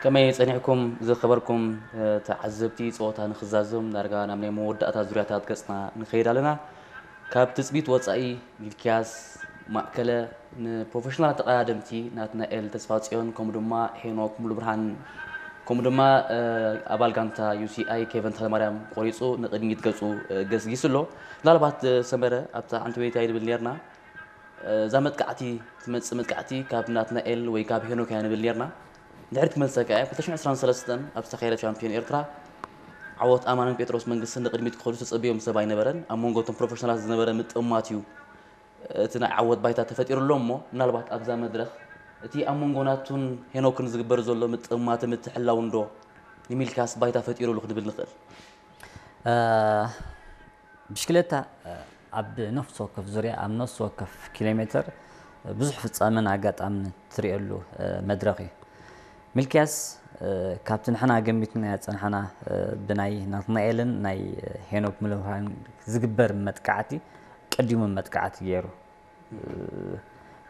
ከመይ ጸኒሕኩም ዝኸበርኩም ተዓዘብቲ? ጸወታ ንኽዛዘም ዳርጋ ናብ ናይ መወዳእታ ዙርያታት ገጽና ንኸይድ ኣለና። ካብ ትጽቢት ወጻኢ ሚልኪያስ ማእከለ ንፕሮፌሽናል ተቐዳደምቲ ናትናኤል ተስፋጽዮን ከምኡ ድማ ሄኖክ ሙሉብርሃን ከምኡ ድማ ኣባል ጋንታ ዩ ሲ ኣይ ኬቨን ተኽለማርያም ቆሪጹ ንቕድሚት ገጹ ገስጊሱ ኣሎ። ምናልባት ሰመረ ኣብታ ሓንቲ ወይታ ይብል ኔርና እዛ መጥቃዕቲ ትመጽእ መጥቃዕቲ ካብ ናትናኤል ወይ ካብ ሄኖክ እያ ንብል ኔርና። ድሕሪት ክመልሰካ እየ። ክልተ ሽሕን ዕስራን ሰለስተን ኣብ ዝተኻየደ ሻምፒዮን ኤርትራ ዓወት ኣማንን ጴጥሮስ መንግስትን ንቕድሚት ክኸዱ ዝተጸበዮም ሰብ ኣይነበረን። ኣብ መንጎ እቶም ፕሮፌሽናላት ዝነበረ ምጥማት እዩ እቲ ናይ ዓወት ባይታ ተፈጢሩ ኣሎ። እሞ ምናልባት ኣብዛ መድረኽ እቲ ኣብ መንጎ ናቱን ሄኖክን ዝግበር ዘሎ ምጥማት ምትሕላው እንዶ ንሚልካስ ባይታ ፈጢሩሉ ክንብል ንኽእል? ብሽክለታ ኣብ ነፍሲ ወከፍ ዙርያ ኣብ ነፍሲ ወከፍ ኪሎ ሜትር ብዙሕ ፍጻመን ኣጋጣምን ትርእየሉ መድረኽ እዩ። ሚልክያስ ካብቲ ንሕና ገሚትና ያጸንሐና ብናይ ናትናኤልን ናይ ሄኖክ ምልውሃን ዝግበር መጥቃዕቲ ቀዲሙ መጥቃዕቲ ገይሩ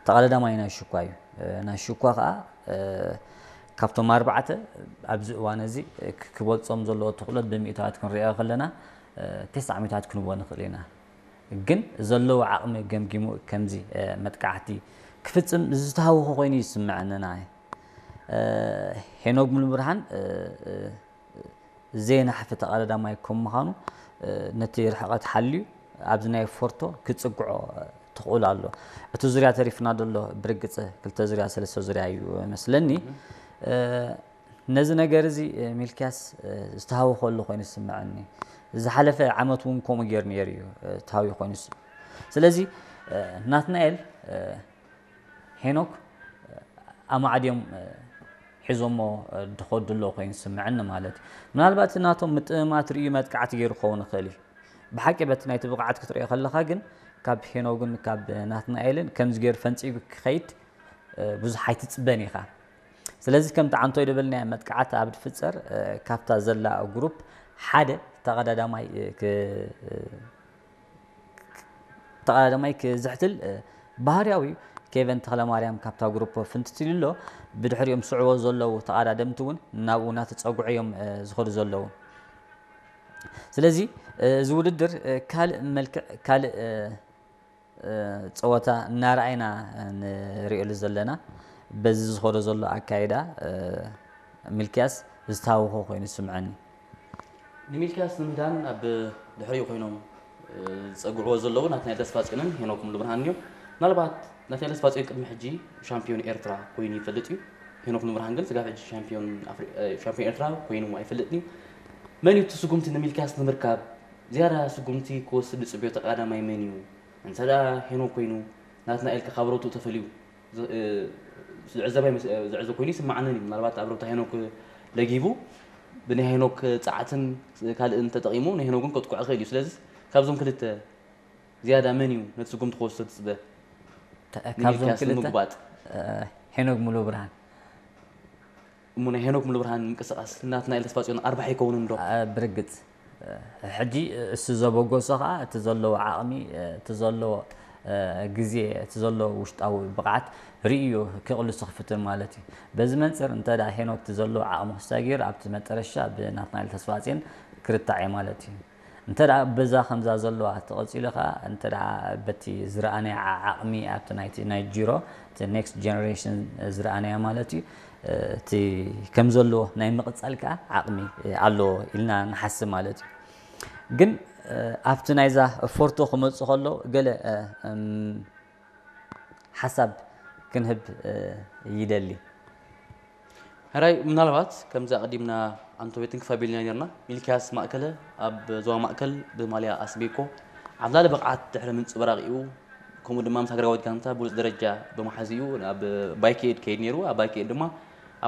ተቐዳዳማይ ናይ ሽኳ እዩ። ናይ ሽኳ ከዓ ካብቶም ኣርባዕተ ኣብዚ እዋን እዚ ክበልፆም ዘለዎ ትኽእሎት ብሚእታዋት ክንሪኦ ከለና ተስዓ ሚእታዋት ክንቦ ንኽእል ኢና። ግን ዘለዎ ዓቕሚ ገምጊሙ ከምዚ መጥቃዕቲ ክፍፅም ዝተሃወኸ ኮይኑ ይስምዐኒ። ሄኖግ ሙሉብርሃን ዘየናሕፊ ተቐዳዳማይ ከም ምዃኑ ነቲ ርሕቐት ሓልዩ ኣብዚ ናይ ፎርቶ ክጽግዖ ትኽእሉ ኣሎ። እቲ ዙርያ ተሪፍና ዘሎ ብርግጽ ክልተ ዙርያ ሰለስተ ዙርያ እዩ መስለኒ። ነዚ ነገር እዚ ሚልክያስ ዝተሃወኸሉ ኮይኑ ዝስምዐኒ። ዝሓለፈ ዓመት እውን ከምኡ ገይሩ ነይሩ እዩ ተሃውዩ ኮይኑ ዝስምዐኒ። ስለዚ ናትናኤል ሄኖክ ኣማዕድዮም ሒዞሞ ድኸዱ ኣለዉ ኮይኑ ዝስምዐኒ ማለት እዩ። ምናልባት ናቶም ምጥምማት ርእዩ መጥቃዕቲ ገይሩ ክኸውን ይኽእል እዩ። ብሓቂ በቲ ናይቲ ብቕዓት ክትሪኦ ከለኻ ግን ካብ ሄኖግን ካብ ናትናኤልን ከምዚ ገይሩ ፈንጺጉ ክኸይድ ብዙሕ ኣይትጽበን ኢኻ። ስለዚ ከምቲ ዓንቶይ ዝበልናዮ መጥቃዕቲ ኣብ ድፍጸር ካብታ ዘላ ግሩፕ ሓደ ተቐዳዳማይ ተቐዳዳማይ ክዝሕትል ባህርያዊ እዩ። ኬቨን ተኽለማርያም ካብታ ግሩፕ ፍንትት ኢሉ ኣሎ። ብድሕሪኦም ዝስዕቦ ዘለዉ ተቐዳደምቲ እውን ናብኡ እናተፀግዑ እዮም ዝኸዱ ዘለዉ። ስለዚ እዚ ውድድር ካልእ መልክዕ ካልእ ፀወታ እናረኣይና ንሪእሉ ዘለና። በዚ ዝኸዶ ዘሎ ኣካይዳ ሚልክያስ ዝተሃወኸ ኮይኑ ይስምዐኒ። ንሚልክያስ ንምህዳን ኣብ ድሕሪኡ ኮይኖም ዝፀግዕዎ ዘለዉ ናትናኤል ተስፋፅዮንን ሄኖክ ሙሉብርሃንን እዮም። ምናልባት ናትናኤል ተስፋፅዮን ቅድሚ ሕጂ ሻምፒዮን ኤርትራ ኮይኑ ይፈልጥ እዩ። ሄኖክ ሙሉብርሃን ግን ስጋብ ሕጂ ሻምፒዮን ኤርትራ ኮይኑ ኣይፈልጥን እዩ። መን እዩ እቲ ስጉምቲ ንሚልክያስ ንምርካብ ዝያዳ ስጉምቲ ክወስድ ዝፅበዮ ተቐዳዳማይ መን እዩ? እንተ ደኣ ሄኖክ ኮይኑ ናትናኤል ከ ካብ ሮቱ ተፈልዩ ዝዕዘብ ኮይኑ ይስምዓንን እዩ። ምናልባት ኣብ ሮታ ሄኖክ ለጊቡ ብናይ ሄኖክ ጻዕትን ካልእን ተጠቒሙ ንሄኖክ እውን ከጥቅዖ ይኽእል እዩ። ስለዚ ካብዞም ክልተ ዝያዳ መን እዩ ነቲ ስጉምቲ ክወስዶ ትጽበ? ካብዞም ክልተ ንምጉባጥ ሄኖክ ሙሉ ብርሃን። እሞ ናይ ሄኖክ ሙሉብርሃን ምንቅስቃስ ናትናኤል ተስፋጽዮን ኣርባሕ ይከውን እንዶ? ብርግጽ ሕጂ እሱ ዘበገሶ ከዓ እቲ ዘለዎ ዓቕሚ እቲ ዘለዎ ግዜ እቲ ዘለዎ ውሽጣዊ ብቕዓት ርእዩ ክቕልሱ ክፍትን ማለት እዩ። በዚ መንፅር እንተ ደኣ ሄኖክ እቲ ዘለዎ ዓቕሚ ክሳጊር ኣብቲ መጠረሻ ብናትናኤል ተስፋጽዮን ክርታዕ እዩ ማለት እዩ። እንተ ደኣ በዛ ከምዛ ዘለዋ ተቐጺሉ ከኣ እንተ ደኣ በቲ ዝረኣናዮ ዓቕሚ ኣብቲ ናይቲ ናይ ጂሮ እቲ ኔክስት ጀነሬሽን ዝረኣናዮ ማለት እዩ እቲ ከም ዘለዎ ናይ ምቕጻል ከኣ ዓቕሚ ኣለዎ ኢልና ንሓስብ ማለት እዩ። ግን ኣብቲ ናይዛ ፎርቶ ክመጽእ ከሎ ገለ ሓሳብ ክንህብ ይደሊ። ሕራይ ምናልባት ከምዚ ኣቐዲምና ኣንቶቤትን ክፋቢልና ነርና ሚልኪያስ ማእከለ ኣብ ዞባ ማእከል ብማልያ ኣስቤኮ ዓብላሊ ብቕዓት ድሕሪ ምንጽብራቕ እዩ። ከምኡ ድማ ምስ ሃገራዊት ጋንታ ብሉጽ ደረጃ ብምሓዝ እዩ ናብ ባይክኤድ ከይድ ነይሩ። ኣብ ባይክኤድ ድማ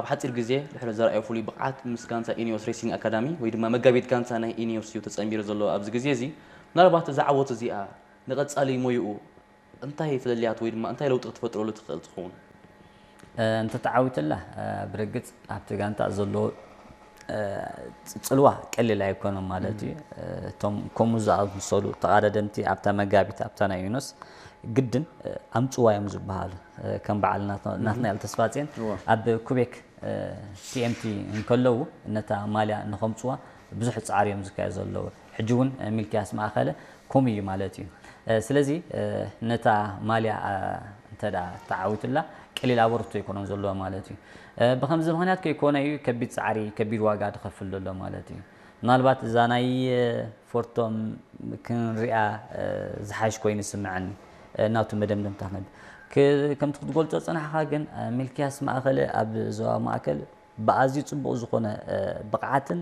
ኣብ ሓጺር ግዜ ድሕሪ ዘርኣዮ ፍሉይ ብቕዓት ምስ ጋንታ ኢኒዮስ ሬሲንግ ኣካዳሚ ወይ ድማ መጋቢት ጋንታ ናይ ኢኒዮስ እዩ ተጸንቢሩ ዘሎ ኣብዚ ግዜ እዚ። ምናልባት እዛ ዓወት እዚኣ ንቐጻሊ ሞይኡ እንታይ ፍልልያት ወይ ድማ እንታይ ለውጢ ክትፈጥረሉ ትኽእል ትኸውን? እንተተዓዊትላ ብርግጽ ኣብቲ ጋንታ ዘሎ ጽልዋ ቀሊል ኣይኮነን ማለት እዩ። እቶም ከምኡ ዝኣመሰሉ ተቓዳደምቲ ኣብታ መጋቢት ኣብታ ናይ ዩኖስ ግድን ኣምጽዋ እዮም ዝበሃሉ። ከም በዓል ናትናኤል ተስፋጽዮን ኣብ ኩቤክ ቲ ኤም ቲ እንከለዉ ነታ ማልያ ንኸምፅዋ ብዙሕ ፃዕሪ እዮም ዝካየድ ዘለዉ። ሕጂ እውን ሚልክያስ ማእኸለ ከምኡ እዩ ማለት እዩ። ስለዚ ነታ ማልያ እንተ ተዓዊቱላ ቀሊል ኣበርክቶ ኣይኮነን ዘለዎ ማለት እዩ። ብኸምዚ ምኽንያት ከይኮነ እዩ ከቢድ ፃዕሪ ከቢድ ዋጋ ዝኸፍል ዘሎ ማለት እዩ። ምናልባት እዛ ናይ ፎርቶም ክንሪኣ ዝሓሽ ኮይኑ ይስምዐኒ። ናቱ መደምደምታ ክነብ ከምቲ ክትገልፆ ፅናሕኻ ግን ሚልክያስ ማእኸለ ኣብ ዞባ ማእከል ብኣዝዩ ፅቡቕ ዝኾነ ብቕዓትን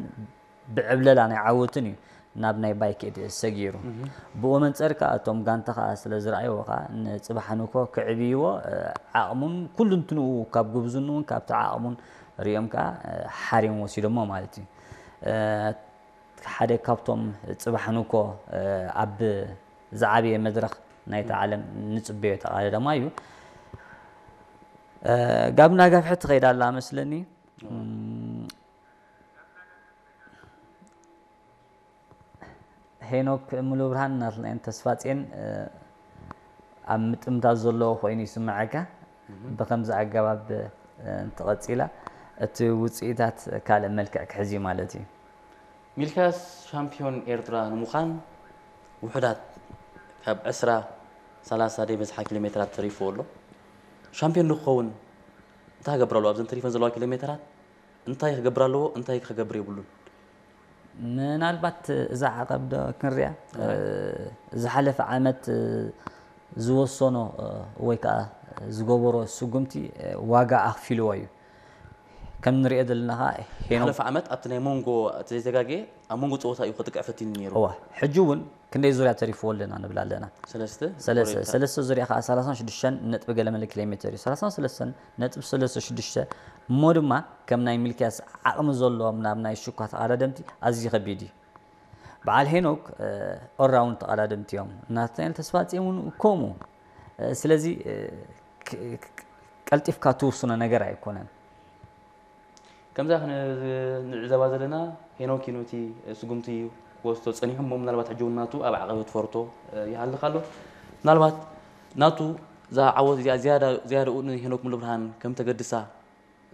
ብዕብለላ ናይ ዓወትን እዩ ናብ ናይ ባይክ ኤድ ሰጊሩ። ብኡ መንፀር ከዓ እቶም ጋንታ ከዓ ስለ ዝረኣይዎ ከዓ ንፅባሕ ንኮ ክዕብይዎ ዓቕሙን ኩሉ እንትንኡ ካብ ጉብዝንኡን ካብቲ ዓቕሙን ሪኦም ከዓ ሓሪም ወሲዶሞ ማለት እዩ። ሓደ ካብቶም ፅባሕ ንኮ ኣብ ዝዓበየ መድረኽ ናይታ ዓለም ንፅበዮ ተቓዳዳማይ እዩ። ጋብና ጋፍሐት ትኸይድ ኣላ መስለኒ። ሄኖክ ሙሉብርሃን ናትናኤል ተስፋጼን ኣብ ምጥምታት ዘለዎ ኮይኑ ይስምዐካ። ብኸምዚ ኣገባብ እንተቐጺላ እቲ ውፅኢታት ካልእ መልክዕ ክሕዝ እዩ ማለት እዩ። ሚልክያስ ሻምፒዮን ኤርትራ ንምዃን ውሑዳት ካብ ዕስራ ሰላሳ ደይበዝሓ ኪሎ ሜትራት ተሪፍዎ ኣሎ። ሻምፒዮን ንክኸውን እንታይ ክገብር ኣለዎ? ኣብዘን ተሪፈን ዘለዋ ኪሎ ሜትራት እንታይ ክገብር ኣለዎ? እንታይ ክገብር የብሉን? ምናልባት እዛ ዓቐብ ዶ ክንሪኣ ዝሓለፈ ዓመት ዝወሰኖ ወይ ከዓ ዝገበሮ ስጉምቲ ዋጋ ኣኽፊልዎ እዩ። ከም ንሪኦ ዘለና ከዓ ሄኖም ዝሓለፈ ዓመት ኣብቲ ናይ መንጎ እቲ ዘይተጋግየ ኣብ መንጎ ፀወታ እዩ ክጥቅዕ ፈቲኑ ነይሩ። እዋ ሕጂ እውን ክንደይ ዙርያ ተሪፍዎ ኣለና ንብል ኣለና። ሰለስተ ሰለስተ ሰለስተ ዙርያ ከዓ ሰላሳን ሽዱሽተን ነጥቢ ገለ መለ ኪሎ ሜትር እዩ። ሰላሳን ሰለስተን ነጥቢ ሰለስተ ሽዱሽተ እሞ ድማ ከም ናይ ሚልክያስ ዓቕሚ ዘለዎም ናብ ናይ ሽኳ ተቓዳደምቲ ኣዝዩ ከቢድ እዩ። በዓል ሄኖክ ኦልራውንድ ተቓዳደምቲ እዮም። ናትናኤል ተስፋጽዮን እውን ከምኡ። ስለዚ ቀልጢፍካ ትውስኖ ነገር ኣይኮነን። ከምዛ ንዕዘባ ዘለና ሄኖክ እዩ ነቲ ስጉምቲ ክወስዶ ጸኒሑ እሞ ምናልባት ሕጂ እውን ናቱ ኣብ ዓቐበት ፈርቶ ይሃልኽ ኣሎ። ምናልባት ናቱ እዛ ዓወት እዚኣ ዝያዳ ዝያዳኡ ንሄኖክ ሙሉብርሃን ከም ተገድሳ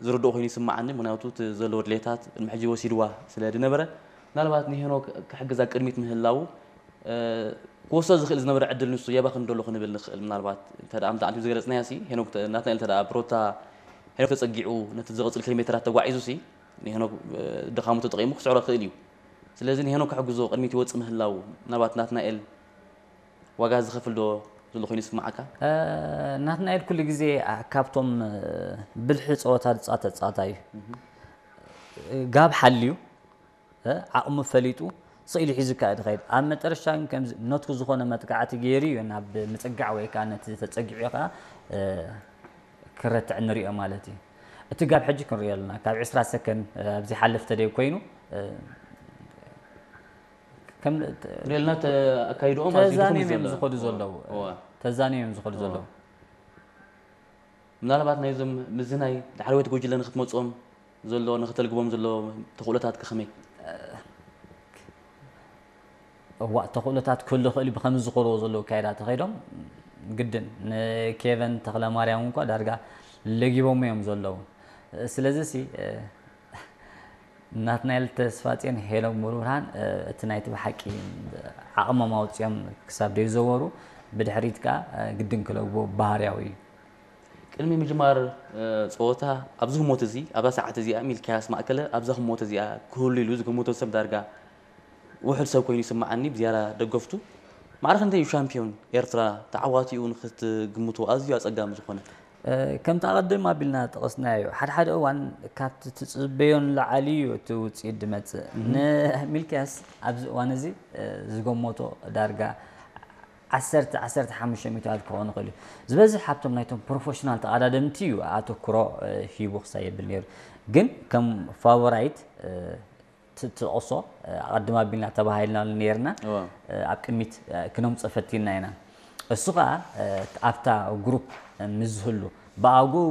ዝርድኦ ኮይኑ ይስምዓኒ። ምክንያቱ እቲ ዘለዎ ድሌታት ቅድሚ ሕጂ ወሲድዋ ስለ ዝነበረ ምናልባት ንሄኖክ ክሕግዝ ኣብ ቅድሚት ምህላዉ ክወስዶ ዝኽእል ዝነበረ ዕድል ንሱ የባኽን ዶ ኣሎ ክንብል ንኽእል። ምናልባት እንተ ደኣ ከምቲ ኣንቲም ዝገለጽናዮ ሲ ሄኖክ ናትናኤል እንተ ደኣ ብሮታ ሄኖክ ተጸጊዑ ነቲ ዝቕጽል ኪሎ ሜትራት ተጓዒዙ ሲ ንሄኖክ ድኻሙ ተጠቒሙ ክስዕሮ ይኽእል እዩ። ስለዚ ንሄኖክ ክሕግዞ ቅድሚት ይወጽእ ምህላዉ ምናልባት ናትናኤል ዋጋ ዝኸፍል ዶ ዘሎ ኮይኑ ይስምዓካ? ናትናኤል ኩሉ ግዜ ካብቶም ብልሒ ጸወታ ዝጻወት ተጻዋታይ እዩ። ጋብ ሓልዩ ዓቕሙ ፈሊጡ ስኢሉ ሒዙ ከዓ ዝኸይድ ኣብ መጠረሽታ ግን ከምዚ ነቱ ዝኾነ መጥቃዕቲ ገይሩ እዩ ናብ ምጽጋዕ ወይ ከዓ ነቲ ተጸጊዑ ከዓ ክረትዕ ንሪኦ ማለት እዩ። እቲ ጋብ ሕጂ ክንሪኦ ኣለና ካብ ዕስራ ሰከንድ ኣብ ዘይሓልፍ ተደይ ኮይኑ ሪልና ኣካይድኦም ኣዝዩ ድኹም እዩ ተዛንዮም እዮም ዘሎ። ዝኸዱ ዘለዉ እዋ። ተዛንዮም እዮም ዝኸዱ ዘለዉ ምናልባት ናይዞም ምዝናይ ዳሕረዎት ጉጅለ ንክትመፅኦም ዘሎ ንክተልግቦም ዘሎ ተኽእሎታት ከ ከመይ? እዋ ተኽእሎታት ክህሉ ይኽእል እዩ ብከምዚ ዝኸድዎ ዘለዉ ኣካይዳ ተኸይዶም ግድን ንኬቨን ተኽለማርያም እንኳ ዳርጋ ለጊቦሞ እዮም ዘለዉ ስለዚ ሲ ናትናኤል ተስፋጽዮን ሄኖክ ሙሉብርሃን እቲ ናይቲ ብሓቂ ዓቕሞም ኣውጺኦም ክሳብ ዘይዘወሩ ብድሕሪት ከኣ ግድን ክለግቦ ባህርያዊ እዩ። ቅድሚ ምጅማር ጸወታ ኣብዚ ህሞት እዚ ኣብዛ ሰዓት እዚኣ ሚልክያስ ማእከለ ኣብዛ ህሞት እዚኣ ክህሉ ኢሉ ዝግምቶ ሰብ ዳርጋ ውሑድ ሰብ ኮይኑ ይስምዓኒ ብዝያዳ ደገፍቱ ማዕረ ክንደይ እዩ ሻምፒዮን ኤርትራ ተዓዋቲኡ ንክትግምቶ ኣዝዩ ኣጸጋሚ ዝኾነ? ከምቲ ኣቐድም ኣቢልና ጠቐስናዮ ሓደ ሓደ እዋን ካብቲ ትጽበዮ ንላዕሊ እዩ እቲ ውጽኢት ዝመጽእ። ንሚልክያስ ኣብዚ እዋን እዚ ዝገመቶ ዳርጋ ዓሰርተ ዓሰርተ ሓሙሽተ ሚእታዊት ክኸውን ይኽእል እዩ። ዝበዝሕ ሃብቶም ናይቶም ፕሮፌሽናል ተቐዳደምቲ እዩ ኣተኩሮ ሂቡ ክሳብ የብል ነይሩ። ግን ከም ፋቮራይት ትጥቕሶ ኣቐድም ኣቢልና ተባሂልና ነርና ኣብ ቅድሚት ክነምፅኦ ፈቲንና ኢና። እሱ ከዓ ኣብታ ግሩፕ ምስ ዝህሉ ብኣግኡ